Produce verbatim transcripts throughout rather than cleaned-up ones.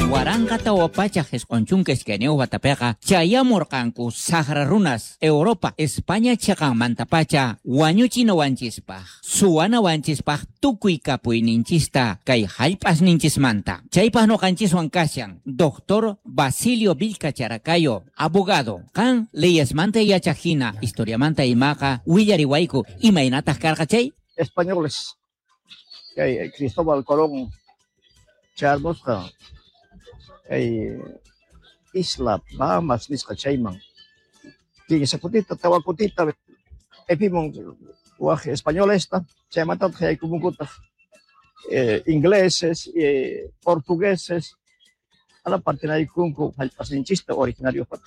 Waranqa tawa pachak isqun chunka iskayniyuq watapiqa chayamurqanku saqra runas Europa España chiqanmantapacha wañuchinawanchispaq suwanawanchispaq tukuy kapuyninchista kay hallp'asninchismanta. Chaypaq ñuqanchiswan kashan Doctor Basilio Vilca Characayo, abogado. Qan leyesmanta yachaq hina, historiamanta imaqa willariwayku imaynataq karqa chay? Españoles kay Cristóbal Colón chayamusqa kay isla Bahamas nisqa chayman kinsa kutita tawa kutita epimun waj españolesta chaymantataq yaykumunkutaq eh, ingleses, eh, portugueses ala partinaykunku hallp'asninchista originariopata.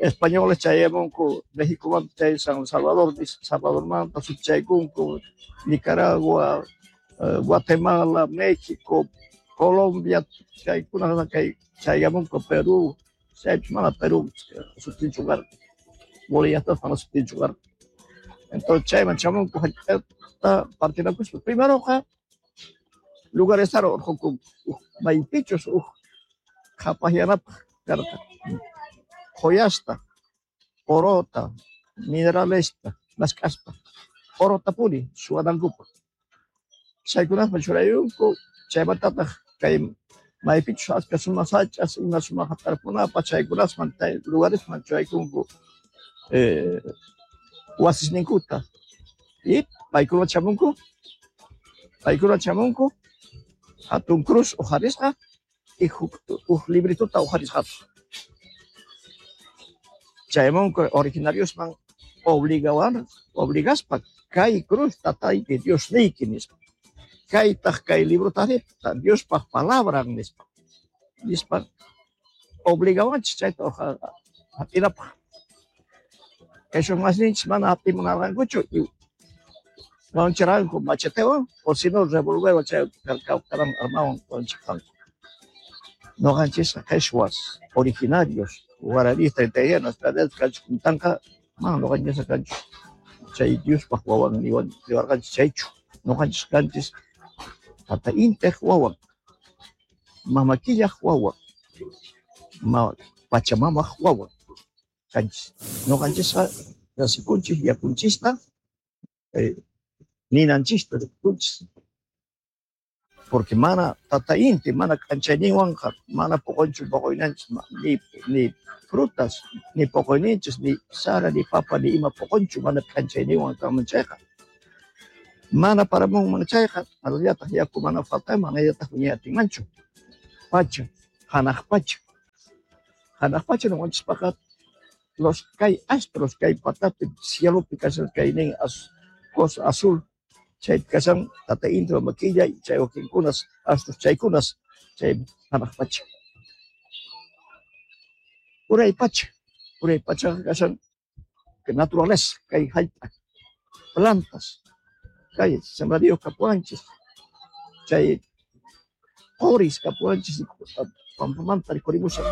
Españoles chayamunku México chay San Salvador, Salvadormanta suchaykunku Nicaragua, eh, Guatemala, México, Colombia, chaykuna kay chayamunku Perú, chaypis mana Perú sutinchu karqa, Bolivia mana sutinchu karqa. Entonces chayman chamunku hallp'ata partinakuspa. Primeroqa lugares urqunku maypichus uj qhapaqyanapaq karqa. Joyasta, orota, mineralesta, mask'aspa, orotapuni suwanankupaq. Chaykunasman churayunku, chaymantataq kay maypichus achka sumaq sach'as ima sumaq tarpunapaq chaykunasman lugaresman churaykunku eh, wasisninkuta. Y paykuna chamunku, paykuna chamunku, hatun cruz uqharisqa y uj libritota uqharisqata. Chayamunku originariosman obligawan, obligaspa kay cruz tatayki Diosniyki nispa. Kaytaq kay librotari Diospaq palabran nispa. Nispa obligawanchis chayta hap'inapaq. Kay masninchis mana hap'imunarqankuchu y wañuchirqanku machetewan o si no revolverwan chay karan armawan wañuchirqanku. Noqanchisqa qheshwas originarios guaraníes treinta y uno kanchis kuntanqa mana noqanchisqa kanchis chay Diospaq wawan niwarqanchis chaychu. Noqanchis kanchis tata Intiq wawan, mama Killaq wawan, ma Pachamamaq wawan kanchis. Noqanchisqa nasikunchis yakunchista eh, ninanchista rikunchis. Porque mana tata Inti, mana k'anchayninwanqa mana poqonchu poqoynanchis ni, ni frutas, ni poqoyninchis, ni sara, ni papa, ni ima poqonchu mana k'anchayninwan kanman chayqa. Mana paramunman chayqa, manallataq yaku mana faltanman, manallataq wiñay atinmanchu. Pacha, hanaq pacha. Hanaq pacha noqanchispaqqa los kay astros kay patapi cielopi kashan kaynin az, cosa azul chay kashan tata Inti mama Killa chay wakinkunas astros chaykunas chay hanaq pacha. Uray pacha, uray pachaqa kashan naturaleza kay hallp'a, plantas, kay sembradíos kapuwanchis, chay qoris kapuwanchis pampamanta rikhurimushan.